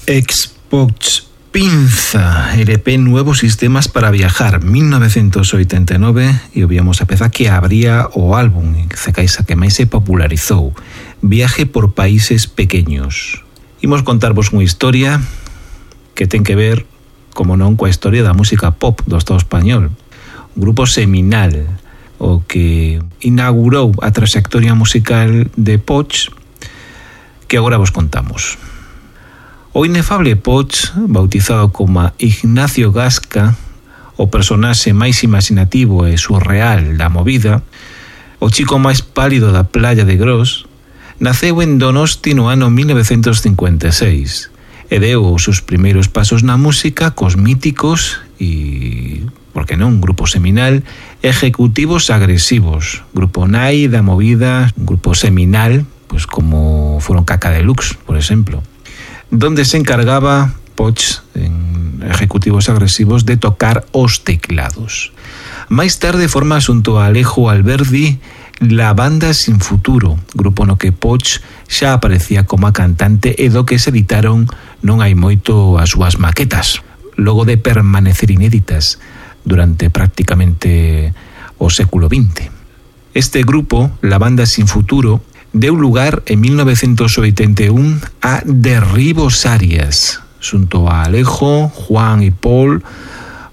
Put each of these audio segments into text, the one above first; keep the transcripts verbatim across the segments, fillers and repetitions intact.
Ex-Poch Pinza, L P Nuevos Sistemas para Viajar, mil novecientos oitenta e nove, e ovíamos a peza que abría o álbum, que que máis se popularizou, Viaje por Países Pequeños. Imos contarvos unha historia que ten que ver, como non, coa historia da música pop do Estado español. Un grupo seminal, o que inaugurou a trayectoria musical de Poch, que agora vos contamos. O inefable Poch, bautizado como Ignacio Gasca, o personaxe máis imaginativo e surreal da movida, o chico máis pálido da playa de Gros, naceu en Donosti no ano mil novecientos cincuenta e seis e deu os seus primeiros pasos na música cos míticos e, por que non, grupo seminal, Ejecutivos Agresivos, grupo nai da movida, un grupo seminal, pues como foron Caca Deluxe, por exemplo, donde se encargaba Poch, en Ejecutivos Agresivos, de tocar os teclados. Máis tarde forma xunto a Alejo Alberdi La Banda Sin Futuro, grupo no que Poch xa aparecía como a cantante e do que se editaron non hai moito as súas maquetas, logo de permanecer inéditas durante prácticamente o século vinte. Este grupo, La Banda Sin Futuro, deu lugar en mil novecientos oitenta e un a Derribos Arias. Xunto a Alejo, Juan e Paul,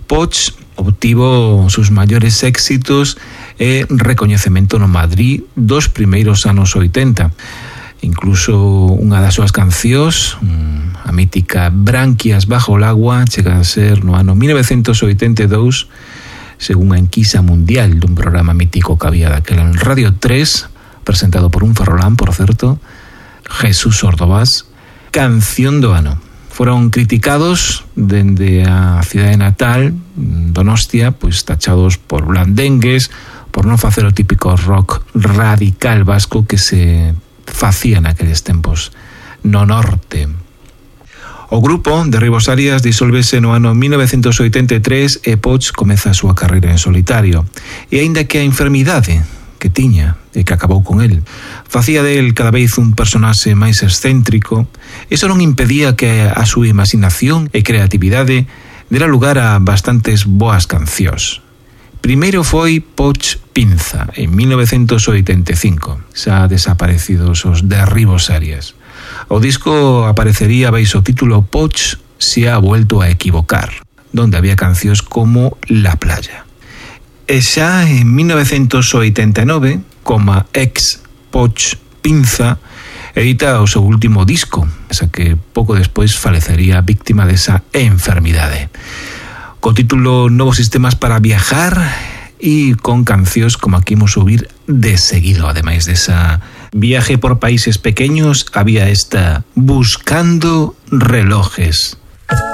Poch obtivo sus maiores éxitos e recoñecemento no Madrid dos primeiros anos oitenta. Incluso unha das súas cancións, a mítica Branquias bajo el agua, chega a ser no ano mil novecientos oitenta e dous, según a enquisa mundial dun programa mítico que había daquela en Radio tres, presentado por un ferrolán, por certo, Jesús Ordovás, canción do ano. Foron criticados dende a cidade natal, Donostia, pois tachados por blandengues, por non facer o típico rock radical vasco que se facía naqueles tempos no norte. O grupo Derribos Arias disólvese no ano mil novecientos oitenta e tres e Poch comeza a súa carreira en solitario. E aínda que a enfermidade que tiña e que acabou con el facía del cada vez un personaxe máis excéntrico, iso non impedía que a súa imaginación e creatividade dera lugar a bastantes boas cancións. Primeiro foi Poch Pinza, en mil novecientos oitenta e cinco, xa desaparecidos os Derribos Arias. O disco aparecería baixo o título Poch se ha vuelto a equivocar, donde había cancións como La Playa. E xa en mil novecientos oitenta e nove, como ex-Poch Pinza, edita o seu último disco, esa que pouco despois falecería víctima desa enfermidade, co título Novos Sistemas para Viajar e con cancións como aquí imos ouvir de seguido. Ademais desa Viaje por Países Pequeños, había esta Buscando Relojes.